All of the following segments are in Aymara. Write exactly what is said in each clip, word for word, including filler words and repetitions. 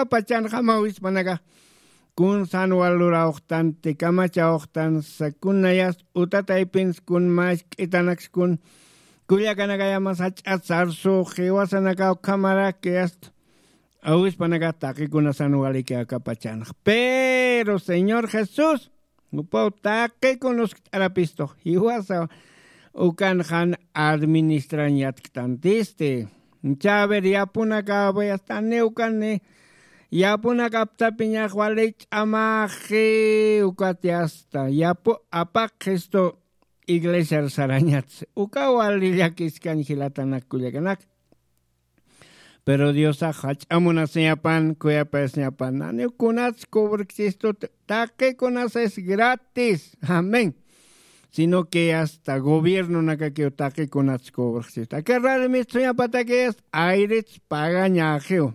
pachanxama wispanaka. Kun san walurawxtanti kamachawxtansa kunayas utataypins kun mask'itanakskun kullakanakayamas jach'at sarsux jiwasanakaw kamarak yasta. Awispanaka taqikunasan waliki akapachanx pero señor jesús jupaw taqikun uskt'arapistux jiwasa ukan jan administrañ yatktantisti. Chaver yapunakapayastani ukani yapunakaptapiñax wali ch'amaxi ukat yasta yapu apaqxistu iglesiar sarañatsi uka wali llakiskañ jilatanak kullakanak. Pero diosax jach'amunasiñapan kuyapayasiñapan naniw kunats cobrkchistu taqi kunas es gratis amén. Sino que asta gobiernonakakiw taqi kunats cobrkchistu aka rarmistsuñapatakiyas ayrits pagañaxiw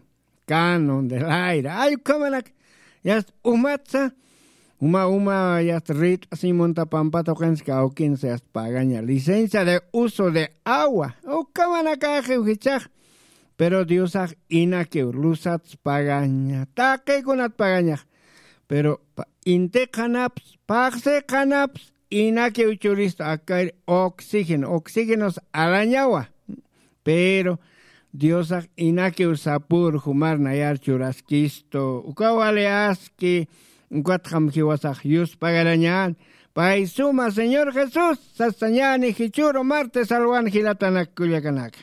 canon del aire ay ukhamanak yast umatsa uma uma yast rit'asiñ munta pampata uqinsi kawkinsi yast pagaña licencia de uso de agua ukamanakaxiw jichax. Pero diosax inakiw lusats pagaña taqikunat pagañax pero intiqanaps paqsiqanaps inakiw churistu akar oxígeno oxígenos alañawa. Pero diosax inakiw sapür jumar nayar churaskistu uka wali aski ukatxam jiwasax yuspagarañän. Pay suma señor jesús sasañäni jichüru martes alwan jilatanak kullakanaka.